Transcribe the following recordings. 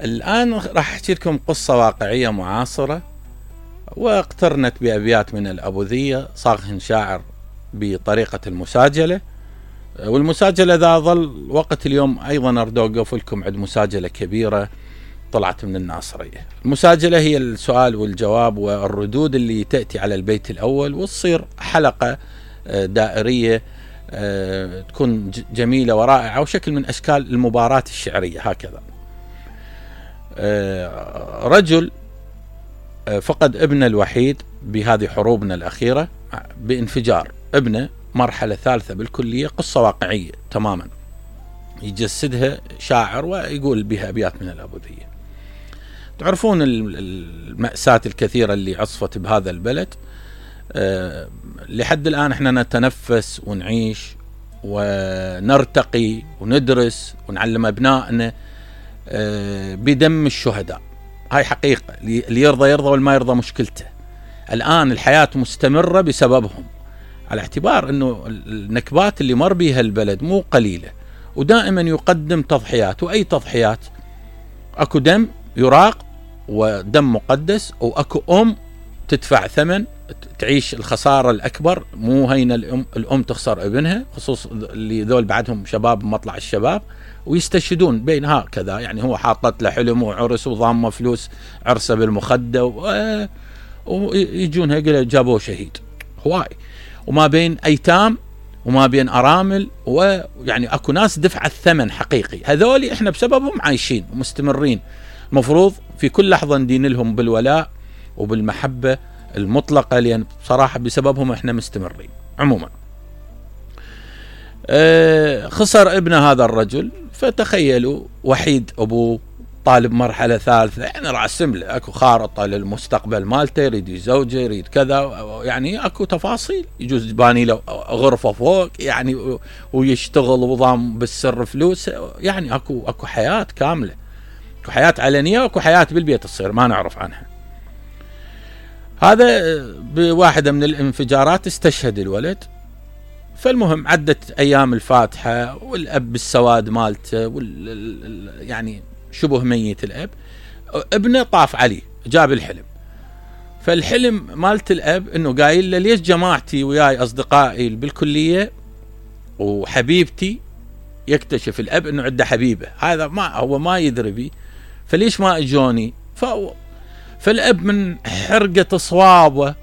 الآن راح أحكي لكم قصة واقعية معاصرة، واقترنت بأبيات من الأبوذية، صاغهن شاعر بطريقة المساجلة. والمساجلة ذا ظل وقت اليوم أيضا أريد أوقف لكم عند مساجلة كبيرة طلعت من الناصرية. المساجلة هي السؤال والجواب والردود اللي تأتي على البيت الأول، وتصير حلقة دائرية تكون جميلة ورائعة، وشكل من أشكال المباراة الشعرية. هكذا رجل فقد ابنه الوحيد بهذه حروبنا الأخيرة بانفجار. ابنه مرحلة ثالثة بالكلية، قصة واقعية تماما يجسدها شاعر ويقول بها أبيات من الأبوذية. تعرفون المأساة الكثيرة اللي عصفت بهذا البلد. لحد الآن احنا نتنفس ونعيش ونرتقي وندرس ونعلم أبنائنا بدم الشهداء. هاي حقيقة، اللي يرضى يرضى والما يرضى مشكلته. الآن الحياة مستمرة بسببهم، على اعتبار أنه النكبات اللي مر بيها البلد مو قليلة، ودائما يقدم تضحيات. وأي تضحيات؟ أكو دم يراق ودم مقدس، وأكو أم تدفع ثمن تعيش الخسارة الأكبر. مو هين الأم تخسر ابنها، خصوص اللي ذول بعدهم شباب مطلع الشباب ويستشهدون بين هكذا. يعني هو حاطت له حلم وعرس وضامه فلوس عرسه بالمخدة ويجون هيك جابوه شهيد. هواي. وما بين أيتام وما بين أرامل، ويعني أكو ناس دفع الثمن حقيقي. هذولي إحنا بسببهم عايشين ومستمرين. المفروض في كل لحظة ندين لهم بالولاء وبالمحبة المطلقة، لأن بصراحة بسببهم إحنا مستمرين. عموما خسر ابن هذا الرجل، فتخيلوا وحيد أبوه، طالب مرحلة ثالثة، يعني راسم له أكو خارطة للمستقبل مالته، يريد يزوجه، يريد كذا، يعني أكو تفاصيل. يجوز باني له غرفة فوق يعني ويشتغل وضام بالسر فلوس. يعني أكو حياة كاملة، أكو حياة علنية وأكو حياة بالبيت تصير ما نعرف عنها. هذا بواحدة من الانفجارات استشهد الولد. فالمهم عدت أيام الفاتحة، والأب بالسواد مالته يعني شبه ميت الأب. ابنه طاف عليه جاب الحلم. فالحلم مالت الأب إنه قايل له ليش جماعتي وياي أصدقائي بالكلية وحبيبتي، يكتشف الأب إنه عنده حبيبة، هذا ما هو ما يدري بي، فليش ما اجوني؟ فالأب من حرقة صوابه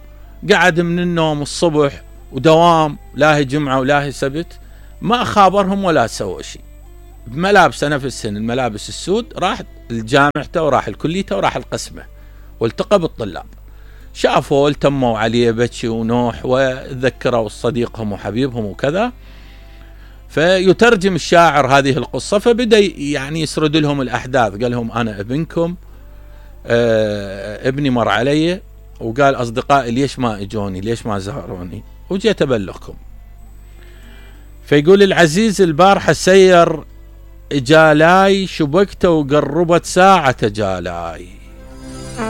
قعد من النوم الصبح ودوام، لا هي جمعة ولا هي سبت، ما خابرهم ولا سوى شيء. بملابسه نفس السن، الملابس السود، راح الجامعته وراح الكليته وراح القسمة والتقى بالطلاب. شافوا التموا عليه بكي ونوح، وذكروا صديقهم وحبيبهم وكذا. فيترجم الشاعر هذه القصة، فبدأ يعني يسرد لهم الأحداث. قال لهم أنا ابنكم، ابني مر علي وقال أصدقائي ليش ما اجوني، ليش ما زاروني، وجيت أبلغكم. فيقول العزيز البارحة سير جالاي، شبكته وقربت ساعة جالاي.